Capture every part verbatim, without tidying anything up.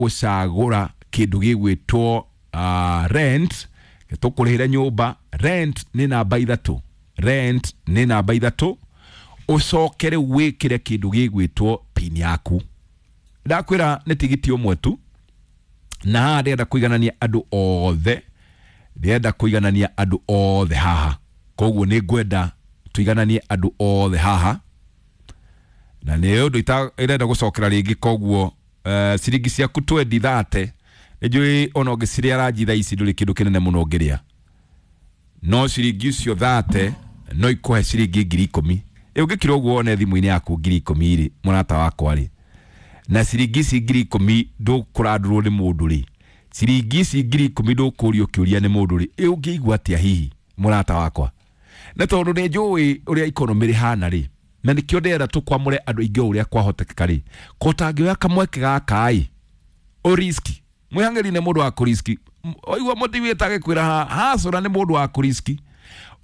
Gũcagũra kĩndũ gĩgwĩtwo uh, rent, tũkũrĩhĩre nyũmba. Rent nĩ namba ithatũ, rent nĩ namba ithatũ. Ũcoke rĩu wĩkĩre kĩndũ gĩgwĩtwo pin yaku. Ndakwĩra nĩ tigiti ũmwe tu, na haha ndĩrenda kũiganania andũ othe, ndĩrenda kũiganania andũ othe haha. Koguo nĩ ngwenda tũigananie andũ othe haha, na nĩ ũndũ ĩrenda gũcokera rĩngĩ. Koguo uh, ciringi ciaku twendi thate, nĩ njũĩ ona ũngĩcirĩa ranji thaa ici ndũrĩ kĩndũ kĩnene mũno ũngĩrĩa, no ciringi icio thate no ikũhe ciringi ngiri ikũmi. Ĩ ũngĩkira ũguo wone thimũ-inĩ yaku ngiri ikũmi rĩ, mũrata wakwa rĩ, na ciringi ici ngiri ikũmi ndũkũrandũrwo nĩ mũndũ rĩ, ciringi ici ngiri ikũmi ndũkũrio kĩũria nĩ mũndũ rĩ, ĩ ũngĩigua atĩa hihi, mũrata wakwa? Na tondũ nĩ njũĩ ũrĩa economy rĩhana rĩ, na nĩkĩo ndĩrenda tũkwamũre andũ aingĩ o ũrĩa kwahotekeka rĩ, ko ũtangĩoya kamweke gaka ĩ ũriski mwĩhang'ĩri nĩ mũndũ wa kũriski. Waigua mũtiwĩte agĩkwĩra hacũra nĩ mũndũ wa kũriski,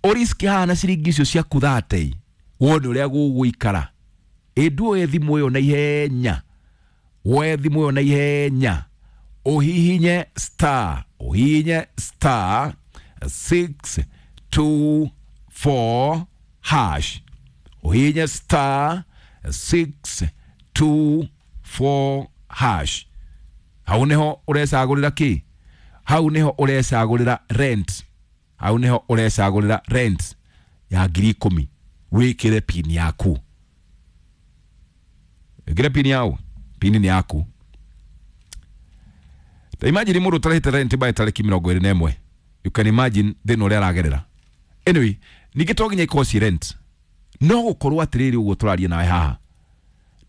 ũriski haha na ciringi icio ciaku thate wone ũrĩa gũgũikara. Ĩ nduoye thimũ ĩyo na ihenya, woe thimũ ĩyo na ihenya, ũhihinye star, ũhihinye star six two four hash, ũhihinye star six two four hash. Hau niho ũrecagũrĩra kĩ? Hau niho ũrecagũrĩra rent, hau niho ũrecagũrĩra rent ya ngiri ikũmi. Wĩkĩre pin yaku, ĩkĩre pin yau, pin nĩ yaku. Ta imagine mũndũ ũtarĩhĩte rent by tarĩki mĩrongo ĩrĩ na ĩmwe, you can imagine thĩna ũrĩa aragerera. Anyway, ningĩ to nginya ikorwo ci rent, no gũkorwo atĩrĩrĩ, ũguo tũraria nawe haha,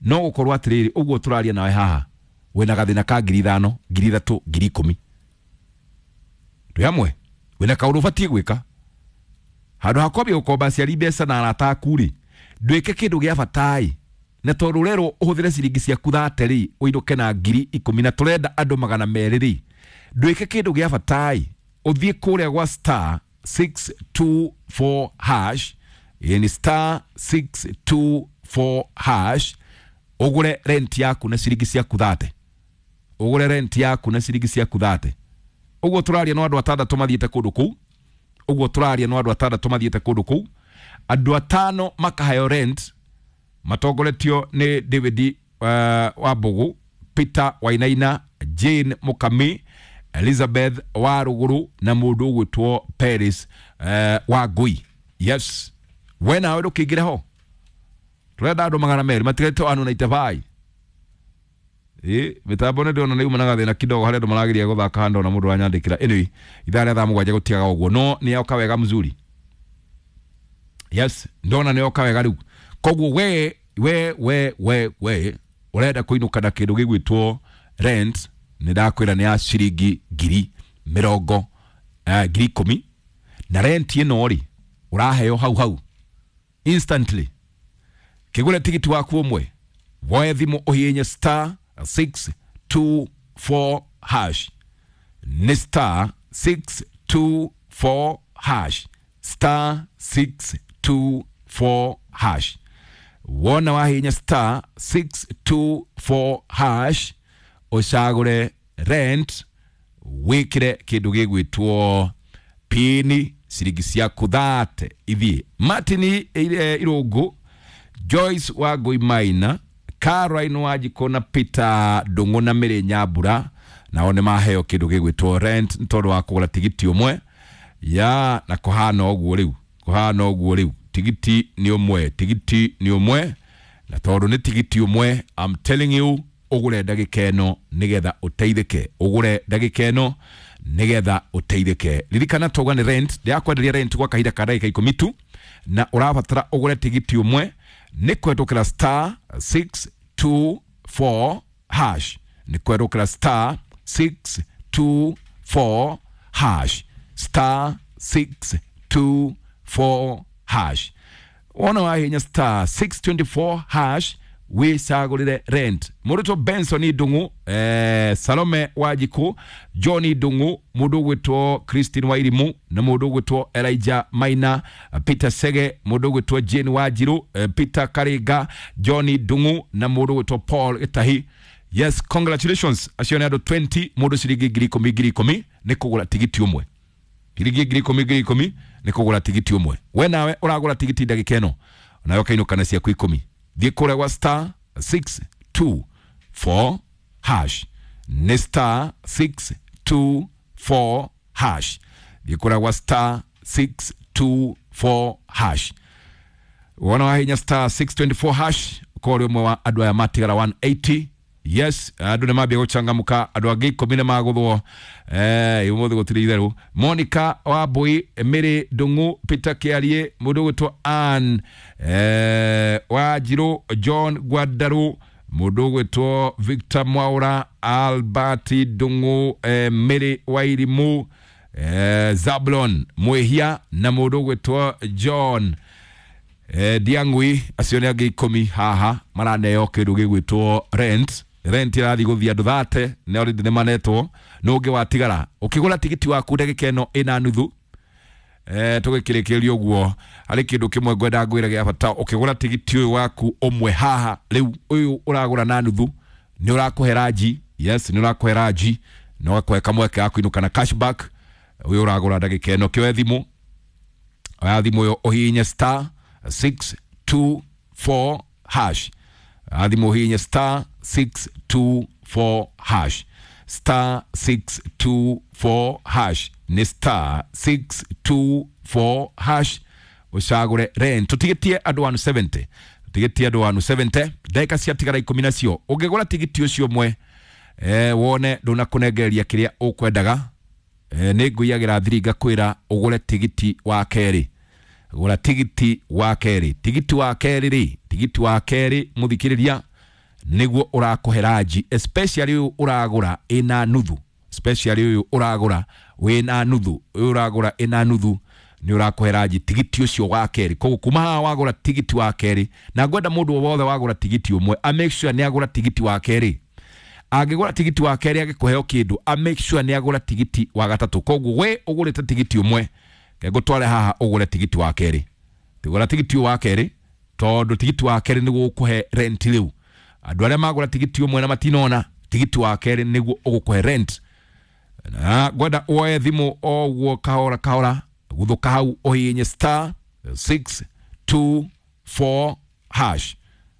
no gũkorwo atĩrĩrĩ, ũguo tũraria nawe haha wĩna gathĩna ka ngiri ithano, ngiri ithatũ, ngiri ikũmi. Twĩ hamwe? Wĩna kaũndũ ũbatiĩ gwĩka handũ ha kwambia gũkomba aciari mbeca na arata aku rĩ, ndwĩke kĩndũ gĩa bata ĩ, na tondũ ũrerwo ũhũthĩre ciringi ciaku thate rĩ, ũinũke na ngiri ikũmi, na tũrenda andũ magana merĩ rĩ, ndwĩke kĩndũ gĩa bata ĩ, ũthiĩ kũrĩa gwa star six two four hash. Ĩ ni star six two four hash, ũgũre rent yaku na ciringi ciaku thate, ũgũre rent yaku na ciringi ciaku thate. Ũguo tũraria no andũ atandatũ mathiĩte kũndũ kũu, ũguo tũraria no andũ atandatũ mathiĩte kũndũ kũu, andũ atano makaheo rent matongoretio nĩ David uh, Wambugu, Peter Wainaina, Jane Mukami, Elizabeth Waruguru na mũndũ ũgwĩtwo Paris uh, Wangui. Yes, we nawe ndũkĩingĩre ho, tũrenda andũ magana merĩ matigaitwo andũ ninety-five. Ĩ mĩtambo nĩ ndĩrona nĩ uma na gathĩna kidogo harĩa andũ marageria gũthaka handũ na mũndũ aranyandĩkĩra. Anyway, ithaa rĩa thaa mũgwanja gũtigaga ũguo, no nĩ yoka wega mzuri. Yes, ndona nĩ yoka wega rĩu. Koguo we we we we we ũrenda kũinũka na kĩndũ gĩgwĩtwo rent, nĩ ndakwĩra nĩ ya ciringi ngiri mĩrongo eh, ngiri ikũmi, na rent ĩno rĩ ũraheo hau hau instantly. Kĩgũre tigiti waku ũmwe, woe thimũ ũhihinye star six two four hash, nĩ star six two four hash, star six two four hash. Wona wahihinya star six two four hash, ũcagũre rent, wĩkĩre kĩndũ gĩgwĩtwo pini, ciringi ciaku thate ithiĩ. Martin Irũngũ, Joyce Wangui Maina, Caroline Wanjikũ na Peter Ndũng'ũ na Mĩrĩ Nyambura nao nĩ maheo kĩndũ gĩgwĩtwo rent nĩ tondũ wa kũgũra tigiti ũmwe ya. Na kũhana ũguo rĩu, kũhana ũguo rĩu, tigiti nĩ ũmwe, tigiti nĩ ũmwe, na tondũ nĩ tigiti ũmwe, I'm telling you, ũgũre ndagĩka ĩno nĩgetha ũteithĩke, ũgũre ndagĩka ĩno nĩgetha ũteithĩke. Ririkana twauga nĩ rent, ndĩrakwenderia rent gwa kahinda ka ndagĩka ikũmi tu, na ũrabatara ũgũre tigiti ũmwe nĩ kũhetũkĩra star six two four hash, nĩ kũhetũkĩra star six two four hash, star six two four hash. Wona wahinya star six two four hash, wicagũrĩre rent. Mũrutwo Benson Ndung'u, eh, Salome Wanjikũ, John Ndung'u, mũndũ ũgwĩtwo Christine Wairimu na mũndũ ũgwĩtwo Elijah Maina, Peter Sege, mũndũ ũgwĩtwo Jane Wanjiru, eh, Peter Karinga, John Ndung'u na mũndũ ũgwĩtwo Paul Gĩtahi. Yes, congratulations acio nĩ andũ mĩrongo ĩĩrĩ, mũndũ ciringi ngiri ikũmi ngiri ikũmi nĩ kũgũra tigiti ũmwe, ciringi ngiri ikũmi ngiri ikũmi nĩ kũgũra tigiti ũmwe. We nawe ũragũra tigiti ndagĩka ĩno nawe ũkainũka na ciaku ikũmi. Thiĩ kũrĩa gwa star six two four hash, nĩ star six two four hash. Thiĩ kũrĩa gwa star six two four hash. Wona wahinya star six two four hash, ũkorwo ũrĩ ũmwe wa andũ aya matigara igana rĩa mĩrongo ĩnana. Yes, andũ nĩ mambia gũcangamũka, andũ angĩ ikũmi nĩ magũthwo. eh ũmũthĩ gũtirĩ itherũ. Monica Wambui, Mary Ndung'u, Peter Kĩarie, mũndũ ũgwĩtwo Ann eh, Wanjirũ, John Gwandaru, mũndũ ũgwĩtwo Victor Mwaura, Albert Ndung'u, eh, Mary Wairimu, eh, Zablon Mwĩhia na mũndũ ũgwĩtwo John eh, Ndiang'ui. Acio nĩ angĩ ikũmi haha maraneo kĩndũ gĩgwĩtwo rent. Rent ĩrathiĩ gũthiĩ andũ thate nĩ already nĩ manetwo. Nũ ũngĩ watigara? Ũkĩgũra tigiti waku ndagĩka ĩno ĩna nuthu, eh, tũgĩkĩrĩkĩrĩria ũguo, harĩ kĩndũ kĩmwe ngwenda ngwĩre gĩa bata. Ũkĩgũra tigiti ũyũ waku ũmwe haha rĩu, ũyũ ũragũra na nuthu, nĩ ũrakũhe ranji. Yes, nĩ ũrakũhe ranji na ũgakũhe kamweke ga kũinũka na cashback. Ũyũ ũragũra ndagĩka ĩno, kĩoe thimũ, oya thimũ ĩyo ũhihinye star six two four hash. Thimũ ũhihinye star six two four hash, star six two four hash, nĩ star six two four hash, ũcagũre rent. Tũtigĩtie andũ igana rĩa mĩrongo mũgwanja, tũtigĩtie andũ igana rĩa mĩrongo mũgwanja, ndagĩka ciatigara ikũmi nacio. Ũngĩgũra tigiti ũcio ũmwe, eh, wone ndũnakũnengereria kĩrĩa ũkwendaga, eh, nĩ ngũiyagĩra thiri ngakwĩra ũgũre tigiti wa kerĩ. Gũra tigiti wa kerĩ. Tigiti wa kerĩ rĩ, tigiti wa kerĩ mũthikĩrĩria nĩguo ũrakũhe ranji, especially ũyũ ũragũra ĩna nuthu, especially ũyũ ũragũra wĩna nuthu, ũyũ ũragũra ĩna nuthu nĩ ũrakũhe ranji tigiti ũcio wa kerĩ. Koguo kuma haha wagũra tigiti wa kerĩ, na ngwenda mũndũ o wothe wagũra tigiti ũmwe a make sure nĩ agũra tigiti wa kerĩ. Angĩgũra tigiti wa kerĩ agĩkũheo kĩndũ, a make sure nĩ agũra tigiti wa gatatũ. Koguo we ũgũrĩte tigiti ũmwe, ngũtware haha ũgũre tigiti wa kerĩ. Gũra tigiti ũyũ wa kerĩ tondũ tigiti wa kerĩ nĩguo ũkũhe rent. Rĩu andũ arĩa magũra tigiti ũmwe na matinona, tigiti wa kerĩ nĩguo ũgũkũhe rent. Na ngwenda woe thimũ o ũguo kahora kahora, guthũka hau ũhihinye star six two four hash.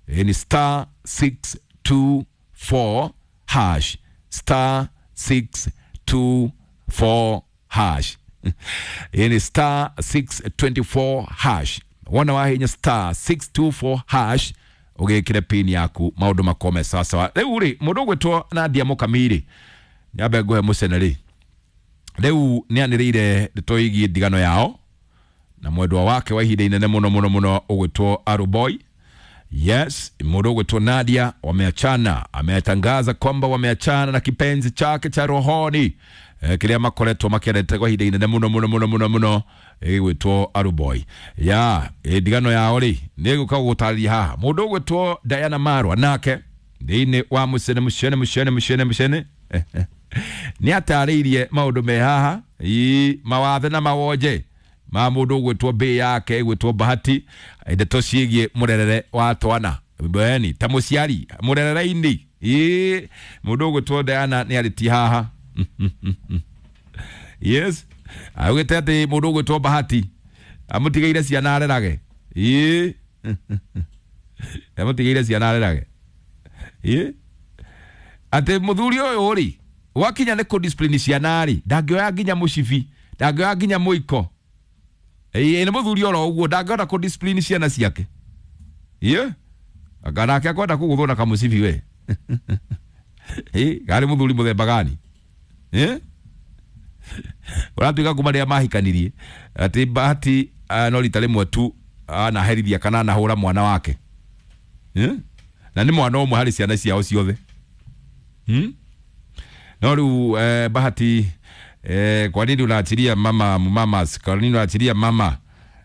Ĩ ni star six two four hash, star six two four hash. Ĩ ni star six two four hash. Wona wahinya star six two four hash, ũgĩkĩre pin yaku, maũndũ makome sawasawa. Rĩu rĩ, mũndũ ũgwĩtwo Nadia Mũkamiri, nyambe ngũhe mũcene rĩ, rĩu nĩ anĩrĩire ndeto ĩgiĩ ndigano yao na mwendwa wake wa ihinda inene mũno mũno mũno ũgwĩtwo Aruboy. Yes, mũndũ ũgwĩtwo Nadia wameachana, ametangaza kwamba wameachana na kipenzi chake cha rohoni, eh, kĩrĩa makoretwo makĩendete kwa ihinda inene mũno mũno mũno mũno mũno, ĩgwĩtwo Aruboy. Ya eh, ndigano yao rĩ, nĩ gũka gũtarĩria haha. Mũndũ ũgwĩtwo Diana Marwa nake thĩinĩ wa mũcene mũcene mũcene mũcene mũcene nĩ atarĩirie maũndũ me haha, ii mawathe na mawonje ma mũndũ ũgwĩtwo mbĩ yake ĩgwĩtwo Bahati, ndeto ciĩgiĩ mũrerere wa twana beni ta mũciari mũrerere-inĩ. Ĩ mũndũ ũgwĩtwo Diana nĩ arĩtie haha. Yes, augĩte atĩ mũndũ ũgwĩtwo Bahati amũtigĩire ciana arerage. Ĩ amũtigĩire ciana arerage. Ĩ atĩ mũthuri ũyũ rĩ, gwakinya nĩ kũ discipline ciana rĩ, ndangĩoya nginya mũcibi, ndangĩoya nginya mũiko. Ĩ nĩ mũthuri oro ũguo ndangĩhota kũ discipline ciana ciake. Ĩ anga nake akwenda kũgũthwo na kamũcibi we. Ĩ garĩ mũthuri mũthemba gani? Ĩ ũratuĩka kuma rĩrĩa mahikanirie atĩ Bahati ah, no rita rĩmwe tu anaherithia kana anahũra mwana wake. Ĩ na nĩ mwana ũmwe harĩ ciana ciao ciothe. Hmm? No rĩu eh, Bahati, eh, kwa nini unaachilia mama mamas, kwa nini unaachilia mama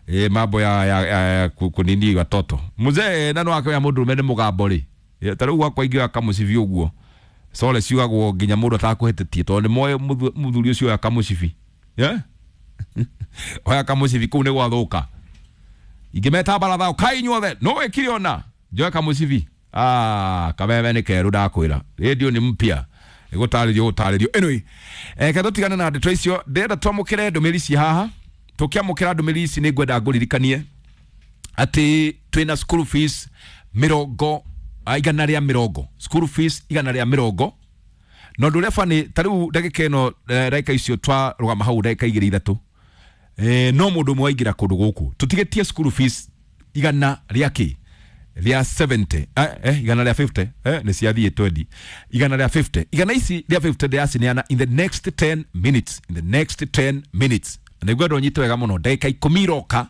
eh, mambo ya, ya, ya, ya kunini watoto mzee na no akĩoya mũndũrũme nĩ mũgambo rĩ. Eh, ta rĩu gwakwa ingĩoya kamũcibi ũguo sole ciugagwo nginya mũndũ atakũhĩtĩtie tondũ nĩ moĩ mũthuri ũcio oya kamũcibi. Yeah? Oya kamũcibi kũu nĩ gwathũka. Ingĩmeta baratha kai inyuothe no wĩkire ona njoe kamũcibi Ah, kameme nĩ kerũ ndakwĩra. Radio nĩ mpya. Ĩgũtarĩrio gũtarĩrio. Anyway, eh tũtigane na ndeto icio. Ndĩrenda twamũkĩre ndũmĩrĩri ici haha. Tũkĩamũkĩra ndũmĩrĩri ici nĩ ngwenda ngũririkanie atĩ twĩna school fees mĩrongo igana rĩa mĩrongo. School fees igana rĩa mĩrongo. Na ũndũ ũrĩa bani ta rĩu ndagĩka ĩno ndagĩka icio twarũgama hau ndagĩka igĩrĩ ithatũ. Eh, no mũndũ ũmwe waingĩra kũndũ gũkũ. Tũtigĩtie school fees igana rĩa kĩ? Rĩa seventy. Eh, eh, igana rĩa fifty. Eh, nĩ ciathiĩ twenty. Igana rĩa fifty. Igana ici rĩa fifty ndĩracineana in the next ten minutes. In the next ten minutes. Na nĩngwenda ũnyite wega mũno. Ndagĩka ikũmi iroka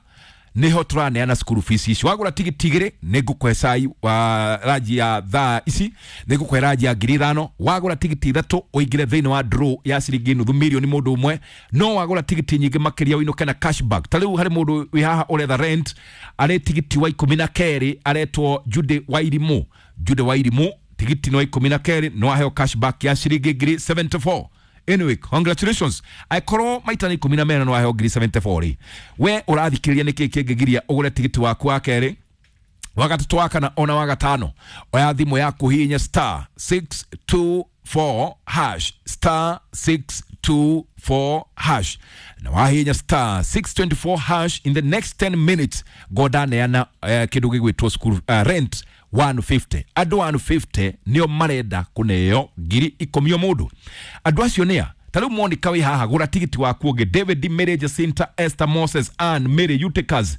niho tũraneana school fees ici. Wagũra tigiti igĩrĩ nĩ ngũkũhe cai wa ranji ya thaa ici, nĩ ngũkũhe ranji ya ngiri ithano. Wagũra tigiti ithatũ ũingĩre thĩinĩ wa draw ya ciringi nuthu mirioni mũndũ ũmwe. No wagũra tigiti nyingĩ makĩria ũinũke na cashback. Ta rĩu harĩ mũndũ wĩ haha ũretha rent, arĩ tigiti wa ikũmi na kerĩ aretwo Jude Wairimu. Jude Wairimu tigiti no ikũmi na kerĩ no aheo cashback ya ciringi ngiri seventy four. Anyway, congratulations. Aikorwo maita nĩ ikũmi na mena no aheo ngiri seventy four rĩ. We ũrathikĩrĩria nĩkĩ kĩngĩgiria ũgũre tigiti waku wa kerĩ, wa gatatũ, wa kana ona wa gatano. Oya thimũ yaku hihinya star six two four hash, star six two four hash. Na wahihinya star six twenty four hash in the next ten minutes ngodaneana eh, kĩndũ gĩgwĩtwo school uh, rent one fifty. Andũ one fifty nĩo marenda kũneo ngiri ikũmi o mũndũ. Andũ acio nĩa? Ta rĩu Monica wĩ haha, gũra tigiti waku ũngĩ. David, Mary, Jacinta, Esther, Moses, Ann, Mary, Eutychus,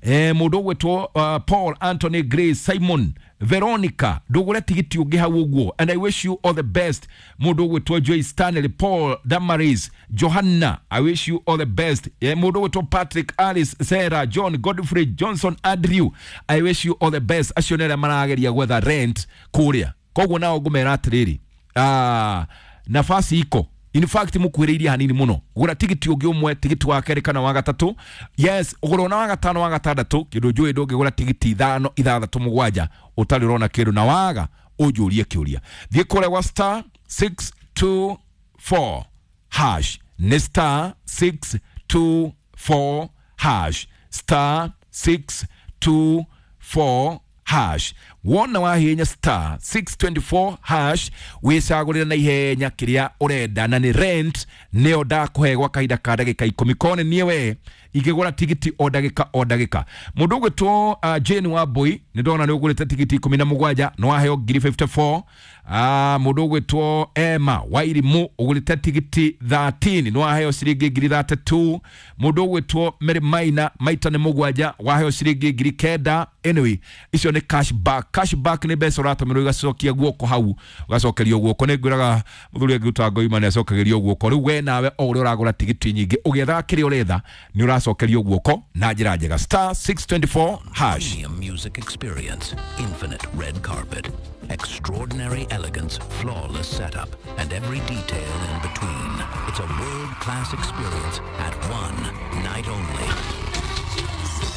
eh, mũndũ ũgwĩtwo uh, Paul, Anthony, Grace, Simon, Veronica, ndũgũre tigiti ũngĩ hau ũguo. And I wish you all the best. Mũndũ ũgwĩtwo Joy Stanley, Paul, Damaris, Johanna, I wish you all the best. Eh, mũndũ ũgwĩtwo Patrick, Alice, Sarah, John, Godfrey, Johnson, Andrew, I wish you all the best. Acio nĩ arĩa marageria gwetha rent kũrĩa. Koguo nao ngũmera atĩrĩrĩ, ah, nafasi iko. In fact mukwĩrĩirie hanini mũno. Gũra tigiti ũngĩ ũmwe, tigiti wa kerĩ kana wa gatatũ. Yes, ũgũra ona wa gatano wa gatandatũ, kĩndũ njũĩ ndũngĩgũra tigiti ithano, ithathatũ, mũgwanja ũtarĩ ũrona kĩndũ, na waga ũnjũrie kĩũria. Thiĩ kũrĩa gwa star six two four hash. Nĩ star six two four hash. Star six two four hash. Wona wahinya star six twenty four hash wicagũrĩre na ihenya kĩrĩa ũrenda, na nĩ rent nĩyo ndakũhe gwa kahinda ka ndagĩka ikũmi. Kone niĩ we ingĩgũra tigiti o ndagĩka o ndagĩka. Mũndũ ũgwĩtwo uh, Jane Wambui nĩ ndona nĩ ũgũrĩte tigiti ikũmi na mũgwanja no waheo ngiri fifty four. Ah, mũndũ ũgwĩtwo Emma Wairimu ũgũrĩte tigiti thirteen no waheo ciringi ngiri thirty two. Mũndũ ũgwĩtwo Mary Maina maita nĩ mũgwanja waheo ciringi ngiri kenda. Anyway, icio nĩ cashback. Cashback nĩ mbeca ũratũmĩrwo igacokia guoko hau, ũgacokerio guoko. Nĩ ngwĩraga mũthuri angĩruta ngoima nĩ acokagĩrio guoko. Rĩu we nawe o ũrĩa ũragũra tigiti nyingĩ ũgĩethaga kĩrĩa ũretha nĩ ũracokerio guoko na njĩra njega. Star six twenty four hash. Premium music experience, infinite red carpet, extraordinary elegance, flawless setup, and every detail in between. It's a world-class experience at one night only.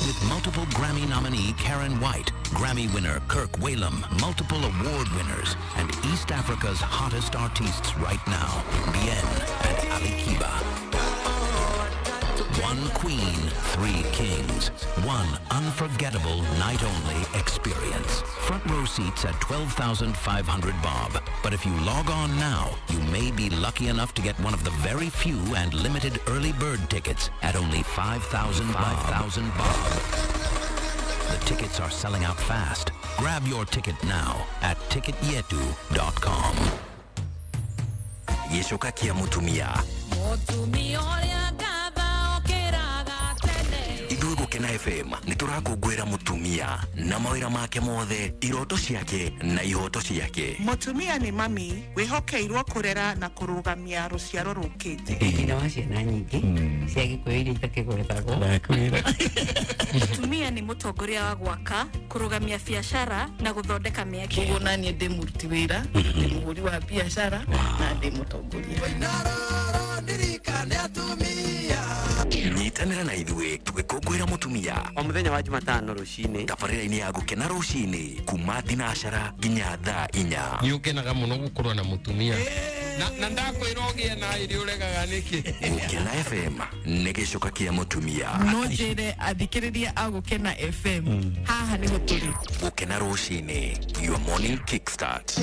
With multiple Grammy nominee Karen White, Grammy winner Kirk Whalum, multiple award winners, and East Africa's hottest artists right now, Bien and Ali Kiba. One queen, three kings. One unforgettable night-only experience. Front row seats at twelve thousand five hundred bob. But if you log on now, you may be lucky enough to get one of the very few and limited early bird tickets at only five thousand bob. The tickets are selling out fast. Grab your ticket now at ticket yetu dot com. Gĩcoka kĩa mũtumia. Mũtumia ũrĩa ngatha ũkĩraga tene. Ithuĩ Gũkena F M nĩ tũrakũngũĩra mũtumia na mawĩra make mothe, iroto ciake na ihoto ciake. Mũtumia nĩ mami wĩhokeirwo kũrera na kũrũgamia rũciaro rũkĩte. Nyina wa ciana nyingĩ cia Gĩkũyũ iria itakĩgwetagwo. Mũtumia nĩ mũtongoria wa gwaka, kũrũgamia biacara na gũthondeka mĩeke. Ũguo na niĩ ndĩ mũruti wĩra, ndĩ mũhũri wa biacara na ndĩ mũtongoria. Nyitanĩra na ithuĩ tũgĩkũngũĩra mũtumia o mũthenya wa Jumatano rũcinĩ, tabarĩra-inĩ ya Gũkena rũcinĩ kuma thinacara nginya thaa inya. Nĩ ũkenaga mũno gũkorwo na mũtumia. Na na ndakwĩra ũgĩe na irio ũregaga nĩkĩ? Gũkena F M nĩ gĩcoka kĩa mũtumia. No njĩre athikĩrĩria a Gũkena F M haha nĩho tũrĩ. Gũkena rũcinĩ, your morning kickstart.